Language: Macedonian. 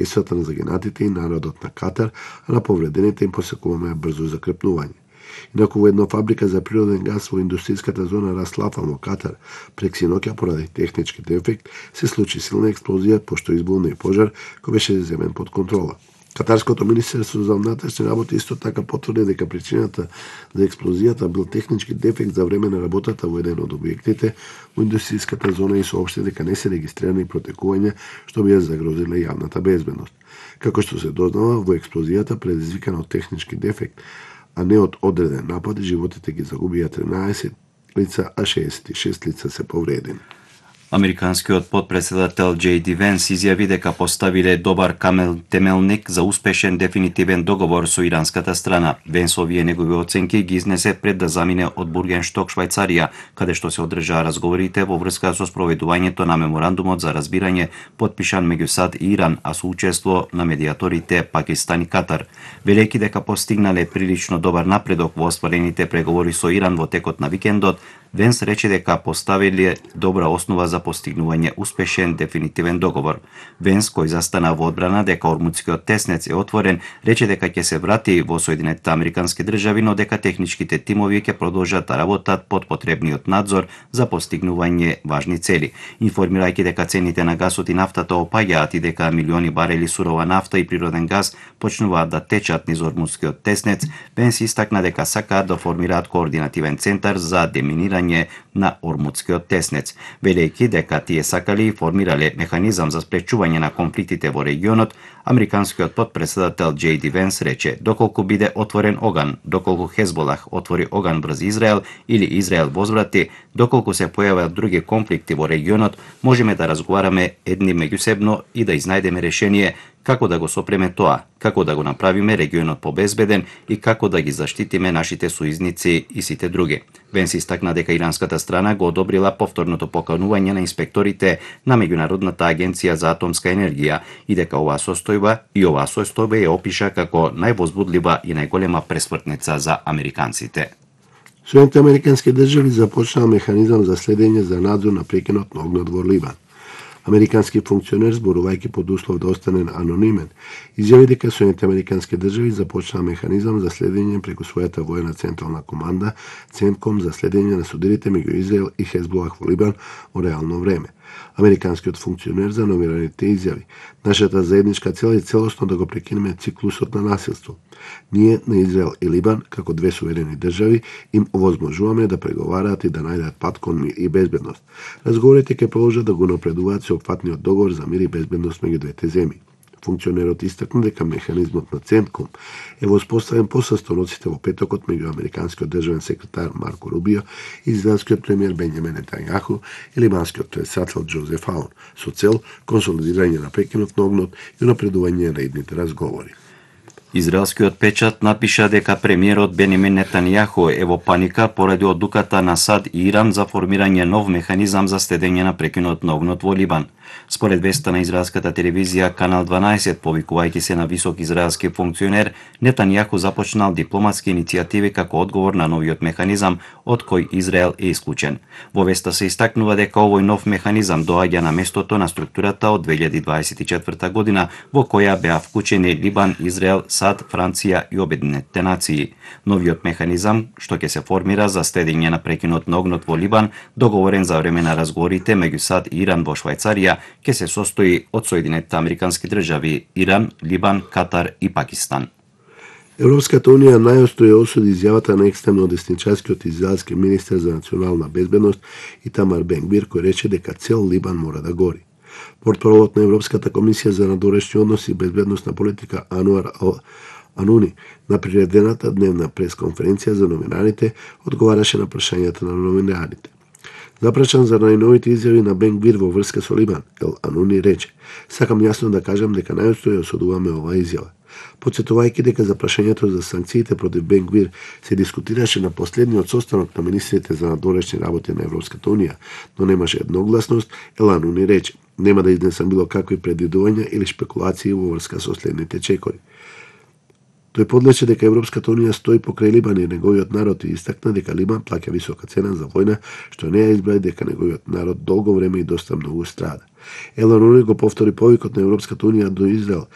семејствата на загинатите и народот на Катар, а на повредените им посекуваме брзо закрепнување. Инаку во една фабрика за природен газ во индустријската зона Рас Лафан во Катар, пред синоќа поради технички дефект, се случи силна експлозија, пошто избулна и пожар кој беше земен под контрола. Катарското министерство за внатрешни работи исто така потврди дека причината за експлозијата бил технички дефект за време на работата во еден од објектите во индустријската зона и соопшти дека не се регистрирани протекувања што би ја загрозиле јавната безбедност. Како што се дознава, во експлозијата предизвикана од технички дефект, а не од одреден напад, животите ги загубија 13 лица, а 66 лица се повредени. Американскиот подпредседател J. D. Венс изјави дека поставиле добар темелник за успешен дефинитивен договор со иранската страна. Венс овие негови оценки ги изнесе пред да замине од Бургеншток, Швајцарија, каде што се одржаа разговорите во врска со спроведувањето на меморандумот за разбирање потпишан меѓу САД и Иран, а со учество на медиаторите Пакистан и Катар. Велејќи дека постигнале прилично добар напредок во остварените преговори со Иран во текот на викендот, Венс рече дека поставиле добра основа за постигнување успешен дефинитивен договор. Венс, кој застана во одбрана дека Ормудскиот теснец е отворен, рече дека ќе се врати во Соединетите Американски држави, но дека техничките тимови ќе продолжат да работат под потребниот надзор за постигнување важни цели. Информирајќи дека цените на гасот и нафтата опаѓаат и дека милиони барели сурова нафта и природен газ почнуваат да течат низ Ормудскиот теснец, Венс истакна дека сакаат да формираат координативен центар за деминирање на Ормудскиот теснец, велејќи дека тие сакали и формирале механизам за спречување на конфликтите во регионот. Американскиот подпредседател J. D. Венс рече: доколку биде отворен оган, доколку Хезболах отвори оган врз Израел или Израел возврати, доколку се појават други конфликти во регионот, можеме да разговараме едни меѓусебно и да изнајдеме решение како да го сопреме тоа, како да го направиме регионот побезбеден и како да ги заштитиме нашите сојузници и сите други. Венс истакна дека иранската страна го одобрила повторното поканување на инспекторите на Меѓународната агенција за атомска енергија и дека оваа состојба ја опиша како највозбудлива и најголема пресвртница за американците. Соединетите Американски држави започнаа механизам за следење за надзор на прекинот на огнот во Либан. Американски функционер, зборувајќи под услов да остане анонимен, изјави дека Соединетите Американски држави започнаа механизам за следење преку својата воена централна команда, Центком, за следење на судирите меѓу Израел и Хезболах во Либан во реално време. Американскиот функционер за номираните изјави: нашата заедничка цел е целосно да го прекинеме циклусот на насилство. Ние на Израел и Либан, како две суверени држави, им овозможуваме да преговараат и да најдат пат кон мир и безбедност. Разговорите ќе продолжат да го напредуваат со опфатниот договор за мир и безбедност меѓу двете земји. Функционерот истакна дека механизмот на Центком е воспоставен по састаноците во петокот меѓу американскиот државен секретар Марко Рубио и израелскиот премиер Бенјамин Нетањаху и либанскиот председател Џозеф Аун, со цел консолидирање на прекинот на огнот и напредување на идните разговори. Израелскиот печат напиша дека премиерот Бенјамин Нетањаху е во паника поради одлуката на САД и Иран за формирање нов механизам за следење на прекинот на огнот во Либан. Според веста на израелската телевизија Канал 12, повикувајќи се на висок израелски функционер, Нетањаху започнал дипломатски иницијативи како одговор на новиот механизам, од кој Израел е исклучен. Во веста се истакнува дека овој нов механизам доаѓа на местото на структурата од 2024 година, во која беа вклучени Либан, Израел, САД, Франција и Обединетите нации. Новиот механизам, што ќе се формира за следење на прекинот на огнот во Либан, договорен за време на разговорите меѓу САД и Иран во Швајцарија, ќе се состои од Соединетите Американски држави, Иран, Либан, Катар и Пакистан. Европската унија најостро ја осуди изјавата на екстремно десничарскиот израелски министер за национална безбедност Итамар Бен-Гвир, кој рече дека цел Либан мора да гори. Портпаролот на Европската комисија за надорешни односи и безбедносна политика Ануар Ануни на приредената дневна пресконференција за новинарите одговараше на прашањата на новинарите. Запрашан за најновите изјави на Бен-Гвир во врска со Либан, Ел Ануни рече: сакам јасно да кажам дека најостро ја осудуваме оваа изјава. Потсетувајќи дека за прашањето за санкциите против Бен-Гвир се дискутираше на последниот состанок на министрите за надорешни работи на Европската унија, но немаше едногласност, Ел Ануни рече: нема да изнесам било какви предвидувања или шпекулации во врска со следните чекори. Тој подлече дека Европската унија стои покрај Либан и неговиот народ и истакна дека Либан плаќа висока цена за војна, што не ја избрави дека неговиот народ долго време и доста многу страда. Елон Муск го повтори повикот на Европската унија до Израел